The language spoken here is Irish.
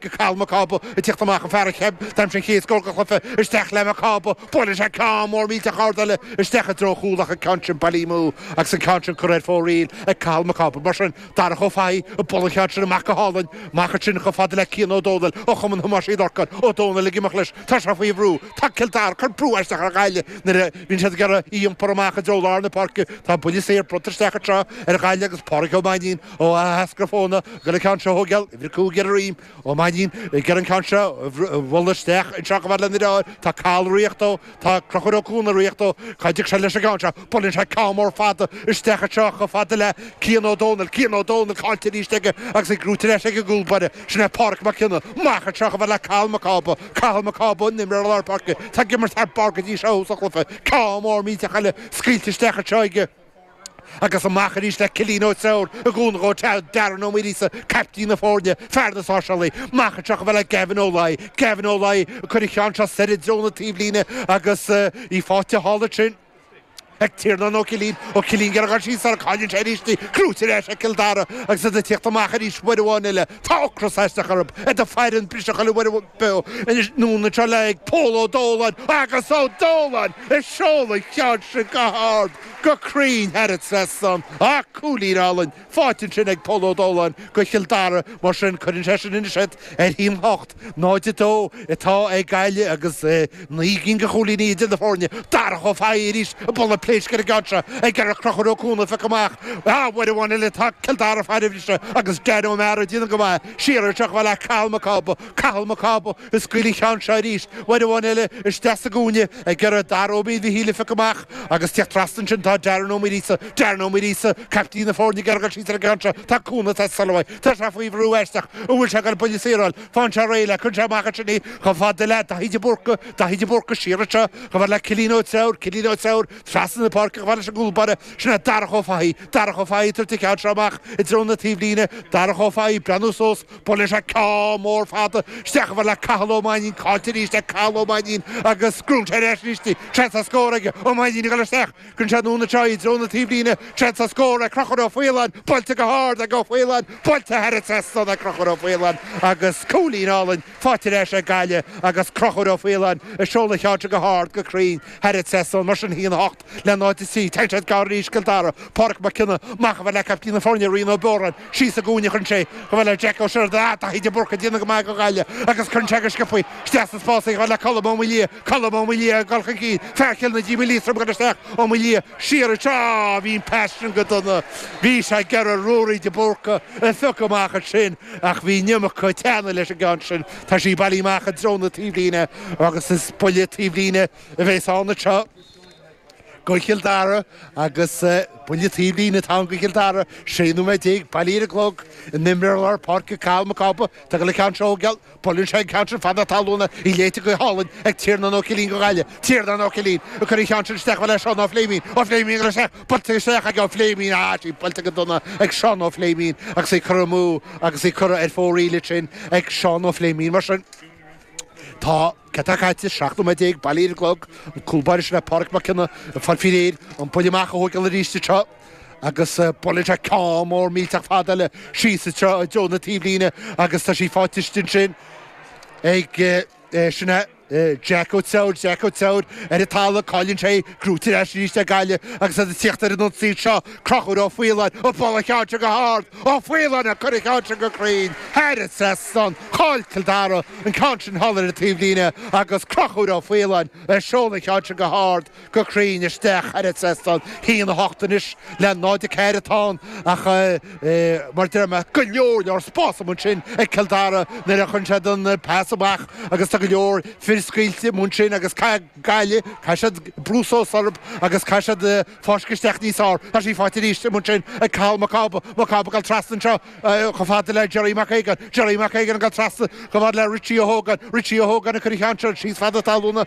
Cathal Mac Cába ag tíocht amach, an fear a d'aimsigh an chéad scór den chluiche, isteach le Mac Cába, buaileann sé ceann mór millteach ard eile isteach i dtreo an chúil ach an ceann sin bailithe amú agus an ceann sin curtha ar fóraoil ag Cathal Mac Cába. Mar sin, Darach Ó Fathaigh ag bualadh an cheann sin amach go hálainn, amach ansin chomh fada le Cian Ó Dónaill ó Chumann Thomáis Uí Lorcáin. Ó Dónaill ag imeacht leis, tá sé faoi bhrú, tá Cill Dara ag cur brú aisteach ar Ghaillimh nuair a bhíonn siad ag iarraidh í iompar amach i dtreo lár na páirce. Tá buille saor bronnta isteach anseo ar Ghaillimh agus Pádraig Ó Mainnín Ó Eascar Fóna ag dul an ceann seo a thógáil, uimhir 5 ar a dhroim, Ó Mainnín ag iarraidh an ceann seo a bhualadh isteach anseo chomh fada lena dheartháir. Tá Cathal ag ritheacht dó, tá Conchúr Ó Cuana ag ritheacht dó, cá dtiocfaidh sé leis an gceann seo? Buaileann sé ceann mór fada isteach anseo chomh fada le Cian Ó Dónaill. Cian Ó Dónaill caillte arís aige agus í gnóite ar ais ag an gcúl báire. Sin é Pádraic Mac Cionnaith. Amach anseo chomh fada le Cathal Mac Cába. Cathal Mac Cába, an imreoir lár páirce. Tá ag imirt thar barr go dtí seo sa chluiche. Ceann mór millteach eile scaoilte isteach anseo aige. Agus amach arís le Cillian Ó Treabhair i gcúnamh ó Darren Ó Muiríosa, caiptín na foirne, fear na sáirséalaí. Amach anseo chomh fada le Gavin Ó Laoi. Gavin Ó Laoi ag cur an cheann seo soir i dtreo na taobhlíne agus í faighte thall ansin ag Tiarnán Ó Cillín. Ó Cillín ag iarraidh a dhul síos air, cailleann sé arís í. Gnóite ar ais ag Cill Dara agus iad ag tíocht amach arís uair amháin eile. Tá ocras aisteach orthu. Iad ag faire an briseadh chuile uair beo anois anonn anseo le Pól Ó Dóláin agus Ó Dóláin ag seoladh an cheann sin go hard. go cruinn thar an trasnán. Ach cúilín álainn faighte ansin ag Pól Ó Dóláin go Chill Dara, mar sin cuireann sé sin anois iad ar 1-8, 0-2 atá ag Gaillimh agus 9 gcinn de chúilíní idir na foirne. Darach Ó Fathaigh arís ag bualadh pléisc ar an gceann seo ag iarraidh Conchúr Ó Cuana a phiocadh amach. Ah, uair amháin eile tá Cill Dara ag faire an bhriseadh agus Dan Ó Meára ag déanamh go maith. Siar anseo chomh fada le Cathal Mac Cába. Cathal Mac Cába ag scaoileadh an cheann seo arís, uair amháin eile isteach sa gcúinne ag iarraidh Dara Ó Mhíchíl a phiocadh amach agus tíocht trasna ansin tá Darren Ó Muiríosa, Darren Ó Muiríosa, caiptín na foirne ag iarraidh dul síos ar an gceann seo, tá cúnamh ag teastáil uaidh, tá sé faoi bhrú aisteach, an bhfuil sé ag dul buille saor a fháil, faigheann sé réidh le, cuireann sé amach ansin í chomh fada le Daithí de Búrca, Daithí de Búrca siar anseo chomh fada le Cillian Ó Treabhair, Cillian Ó Treabhair trasna na páirce chomh fada leis an gcúl báire, sin é Darach Ó Fathaigh, Darach Ó Fathaigh ag tabhairt an ceann seo amach i dtreo na taobhlíne, Darach Ó Fathaigh, breathnú suas, Buaileann sé ceann mór fada isteach chomh fada le Cathal Ó Mainnín, caillte arís ag Cathal Ó Mainnín agus gnóthaíonn sé ar ais arís í. Seans ar scór aige, Ó Mainnín ag dul isteach. Cuireann sé anonn anseo í i dtreo na taobhlíne. Seans ar scór ag Conchúr Ó Faoláin, buailte go hard ag Ó Faoláin, buailte thar an trasnán ag Conchúr Ó Faoláin agus cúilín álainn faighte ar ais ag Gaillimh agus Conchúr Ó Faoláin ag seoladh an cheann seo go hard go cruinn thar an trasnán. Mar sin, 1-8. le 0-3. Téann siad gar arís Cill Dara. Pádraic Mac Cionnaith, amach chomh fada le caiptín na foirne, Rian Ó Biorráin, síos sa gcúinne a chuireann sé chomh fada le Jack Ó Seireadáin. Ah, Daithí de Búrca ag déanamh go maith do Ghaillimh agus cuireann sé go sciobtha isteach sa spás é chomh fada le Colm Ó Maoildhia. Colm Ó Maoildhia ag dul chun cinn. Fear Chill na Díoma Liatroim ag dul isteach. Ó Maoildhia siar anseo. Ah, bhí an pas sin go dona. Bhí sé ag iarraidh Ruairí de Búrca a phiocadh amach ansin ach bhí an iomarca teannaidh leis an gceann sin. Tá sí bailithe amach i dtreo na taobhlíne agus is buille taobhlíne a bheas ann anseo. Go Chill Dara agus buille taobhlíne atá ann go Chill Dara. 16 nóiméad bailithe ar an gclog. An imreoir lár páirce Cathal Mac Cába. Tá ag dul an ceann seo a thógáil. Buaileann sé an ceann sin fad na talún í léite go hálainn ag Tiarnán Ó Cillín go Gaillimh. Tiarnán Ó Cillín ag cur an cheann sin isteach le Seán Ó Fléimín. Ó Fléimín ag dul isteach. Buailte isteach ag Ó Fléimín. Ah, sí buailte go dona ag Seán Ó Fléimín agus í curtha amú agus í curtha ar fóraoil ansin ag Seán Ó Fléimín. Mar sin tá. Cad tá caite? 17 nóiméad bailithe ar an gclog, an cúl báire sin é Pádraic Mac Cionnaith ag fáil faoi réir, an buille amach a thógáil arís anseo agus buaileann sé ceann mór millteach fada eile síos anseo i dtreo na taobhlíne agus tá sí faighte istigh ansin ag sin é Jack Ó Treabhair, Jack Ó Treabhair ar an talamh, cailleann sé í, gnóite ar ais arís ag Gaillimh agus iad ag tíocht ar an ionsaí anseo, Conchúr Ó Faoláin, ag bualadh an cheann seo go hard, Ó Faoláin ag cur an cheann sin go cruinn thar an trasnán, chaill Cill Dara an ceann sin thall ar an taobhlíne agus Conchúr Ó Faoláin ag seoladh an cheann sin go hard go cruinn isteach thar an trasnán. 1-8 anois le 0-4 atá ann ach mar a deir mé, go leor leor spás amuigh ansin ag Cill Dara nuair a chuireann siad an pas amach agus tá go leor fir scaoilte amuigh ansin agus caithfidh Gaillimh, caithfidh siad brú suas orthu agus caithfidh siad fáisceadh isteach níos fearr. Tá sí faighte arís amuigh ansin ag Cathal Mac Cába. Mac Cába ag dul trasna anseo chomh fada le Jerry Mac Aogáin. Jerry Mac Aogáin ag dul trasna chomh fada le Richie Ó hÓgáin. Richie Ó hÓgáin ag cur an cheann seo síos fad na talúna.